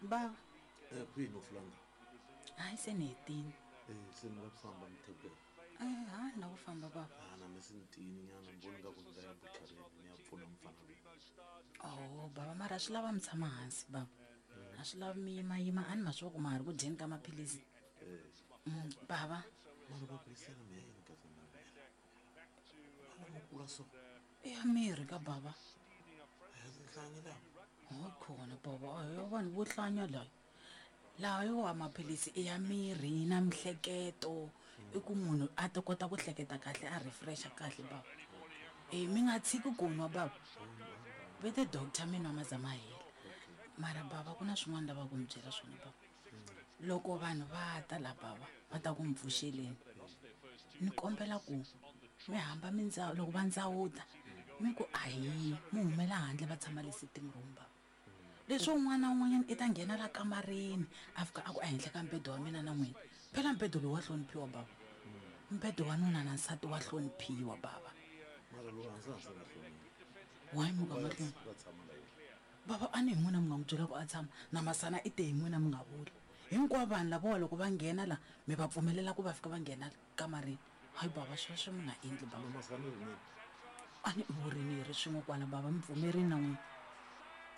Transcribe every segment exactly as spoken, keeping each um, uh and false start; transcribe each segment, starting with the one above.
Baba. Eh, kwihi no fulanga? Hayi se ni hetini. Eh, se ni la ku famba mithekweni. Eh, ha ni la ku famba baba. Ah, na mi se ni tiyini nyana, ni vona nga ku ni nga ya buchareni ni ya pfuna mfana loyi. Oh, baba mara swi lava mi tshama hansi baba. A swi lavi mi yimayima, a ni ma swi ku ma ha ri ku dyeni ka maphilisi. Eh. Mm, baba. Mara va buyisela mi ya yini ka tona mina? Ala mi kula so. I ya mirhi ka baba. A ya tinhlanyi lawa. Ho khona baba, a hi ya vanhu vo hlanya layo. Laha yo wa maphilisi i ya mirhi na mihleketo. I ku munhu a ta kota ku hleketa kahle, a refresha kahle baba. E mi nga tshiki ku nwa baba. Ve te doctor mi nwa maza ma hela. Mara baba ku na swin'wana lava ku mi byela swona baba. Loko vanhu va ta la baba, va ta ku mi pfuxeleni. Ni kombela ku mi hamba mi ndza, loko va ndzawuta, mi ku ahi, mi humela handle va tshama le sitting room baba. Leswi un'wana na un'wanyana i ta nghena la kamareni, a fika a ku ehenhla ka mbedo wa mina na n'wina. Phela mbedo lowu wa hloniphiwa baba. Mbedo wa nuna na nsati wa hloniphiwa baba. Mara lowu hansi hansi nga hloniphi. Why mi nga ma hloniphi? Va tshama la yena. Baba a ni hi n'wina mi nga n'wi byela ku a tshama, na Masana i te hi n'wina mi nga vuli. Hinkwavo vanhu lavawa loko va nghena la, mi va pfumelela ku va fika va nghena kamareni. Hayi baba, sweswo mi nga endli baba. Na Masana i rinini? A ni vurini hi ri swin'we kwala baba, mi pfumerini na n'wina.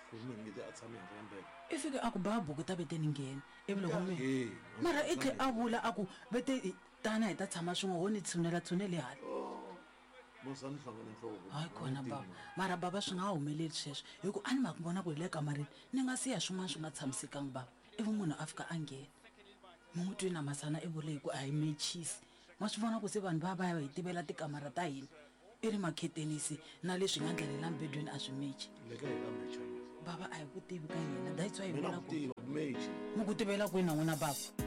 Ku ri mina nge te a tshame henhla ka mbhedwe. I fike a ku ba buku ta vete ni nghena. Ivi loko mi Ee, mara i tlhe a vula a ku vete tana hi ta tshama swin'we, ho ni tshunela tshuneli hala. Oh, Masana hlangane nhloko. Hayi khona baba, mara baba swi nga humeleli sweswo, hi ku a ni ma vona ku hi le kamareni ni nga siya swin'wana swi nga tshamisekanga baba. Ivi munhu a fika a nghena. Mi n'wi twi na Masana i vule hi ku a hi mechisi. Ma swi vona ku se vanhu va va ya hi tivela tikamara ta hina. I ri makhetenisi na leswi nga ndlela la mbedweni a swi mechi. Le ka hi ka mecha. Baba a hi ku tivi ka yena, that's why hi Mina vula ku ku tiva ku mechi. Mi ku tivela kwini na n'wina baba?